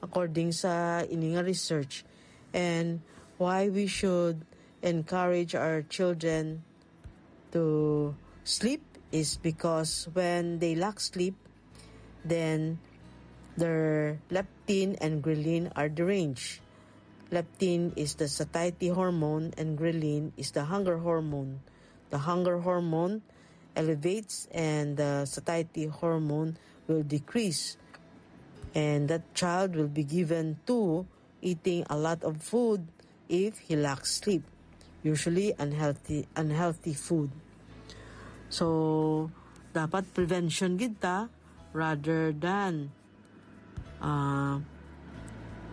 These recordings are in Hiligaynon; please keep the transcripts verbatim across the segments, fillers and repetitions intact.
according sa ini nga research. And why we should encourage our children to sleep is because when they lack sleep, then their leptin and ghrelin are deranged. Leptin is the satiety hormone, and ghrelin is the hunger hormone. The hunger hormone elevates, and the satiety hormone will decrease. And that child will be given to eating a lot of food if he lacks sleep, usually unhealthy, unhealthy food. So, dapat prevention gid ta rather than, uh,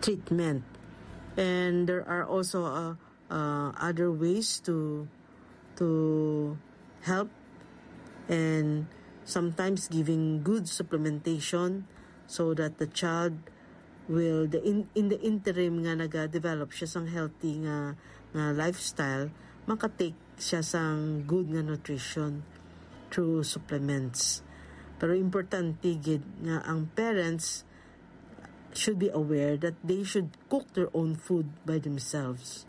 treatment. And there are also, uh, uh, other ways to to help, and sometimes giving good supplementation so that the child will, the in, in the interim nga naga-develop siya sang healthy nga, nga lifestyle, makatake siya sang good nga nutrition through supplements. Pero importante gid nga ang parents should be aware that they should cook their own food by themselves.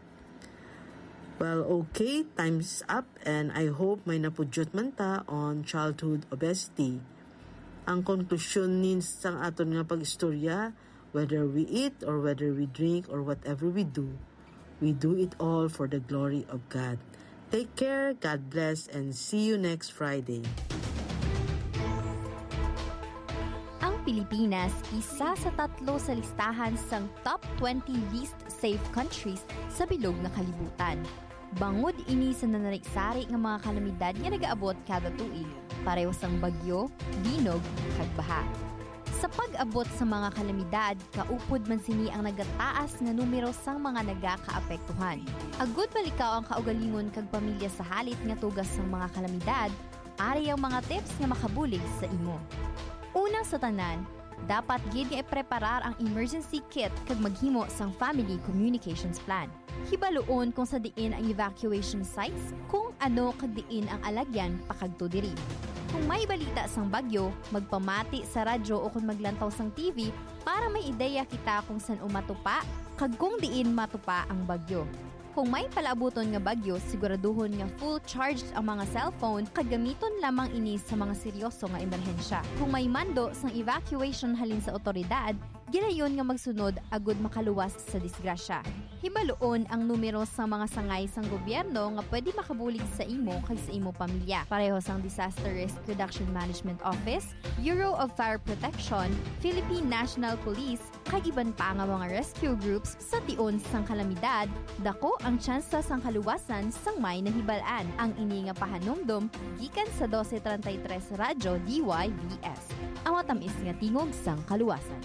Well, okay, time's up, and I hope may napudyot man ta on childhood obesity. Ang konklusyon nin sang aton nga pag-istorya, whether we eat or whether we drink or whatever we do, we do it all for the glory of God. Take care, God bless, and see you next Friday. Ang Pilipinas isa sa tatlo sa listahan sang top twenty least safe countries sa bilog nga kalibutan. Bangod ini sa nanari-sari nga mga kalamidad nga nagaabot kada tuig, pareho sang bagyo, linog, kag baha. Sa pag-abot sa mga kalamidad, kaupod man sini ang nagataas nga numero sang mga nagakaapektuhan. Agud malikaw ang kaugalingon kag pamilya sa halit nga tugas sang mga kalamidad, ari ang mga tips nga makabulig sa imo. Una sa tanan, dapat gid nga ipreparar ang emergency kit kag maghimo sang family communications plan. Hibaluon kung sa diin ang evacuation sites, kung ano kag diin ang alagyan pakadto diri. Kung may balita sang bagyo, magpamati sa radyo o kon maglantaw sang T V para may ideya kita kung san-o matupa kag kung diin matupa ang bagyo. Kung may palaabuton nga bagyo, siguraduhon nga full charged ang mga cellphone kag gamiton lamang ini sa mga seryoso nga emerhensya. Kung may mando sang evacuation halin sa awtoridad, gilayon nga magsunod agud makaluwas sa disgrasya. Hibaluon ang numero sang mga sangay sang gobyerno nga pwede makabulig sa imo kag sa imo pamilya, pareho sang Disaster Risk Reduction Management Office, Bureau of Fire Protection, Philippine National Police, kag iban pa nga mga rescue groups. Sa tion sang kalamidad, dako ang tsansa sang kaluwasan sang may nahibal-an. Ang ini nga pahanumdom gikan sa Doce Treinta y Tres Radyo D Y V S, ang matamis nga tingog sang kaluwasan.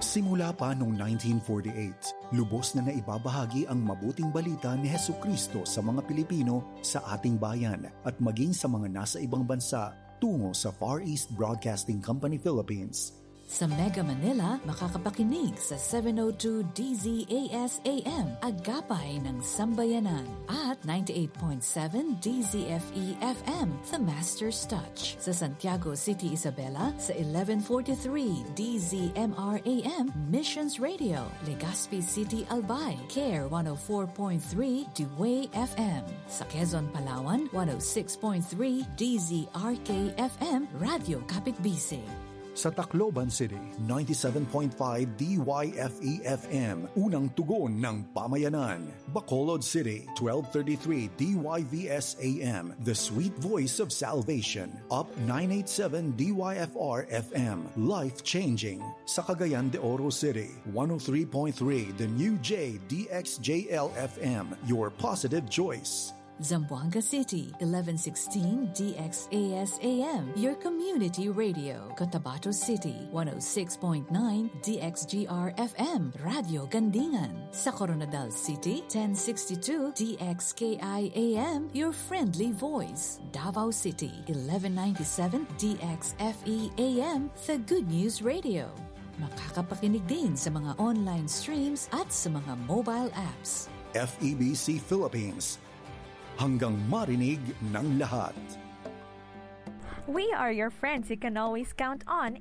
Simula pa noong nineteen forty-eight, lubos na naibabahagi ang mabuting balita ni Jesucristo sa mga Pilipino sa ating bayan at maging sa mga nasa ibang bansa tungo sa Far East Broadcasting Company Philippines. Sa Mega Manila, makakapakinig sa seven oh two D Z A S A M, Agapay ng Sambayanan, at ninety-eight point seven D Z F E F M, The Master's Touch. Sa Santiago City, Isabela, sa eleven forty-three D Z M R A M, Missions Radio, Legazpi City, Albay, Care one oh four point three D W A Y F M. Sa Quezon, Palawan, one oh six point three D Z R K F M, Radyo Kapitbisig. Sa Tacloban City, ninety-seven point five D Y F E F M, Unang Tugon ng Pamayanan. Bacolod City, twelve thirty-three D Y V S A M, The Sweet Voice of Salvation. Up nine eight seven D Y F R F M, Life Changing. Sa Cagayan de Oro City, one oh three point three The New J D X J L F M, Your Positive Choice. Zamboanga City, eleven sixteen D X A S A M, your community radio. Cotabato City, one oh six point nine D X G R F M, Radyo Gandingan. Sa Koronadal City, ten sixty-two D X K I A M, your friendly voice. Davao City, eleven ninety-seven D X F E A M, the Good News Radio. Makakapakinig din sa mga online streams at sa mga mobile apps. F E B C Philippines. Hanggang marinig ng lahat. We are your friends you can always count on in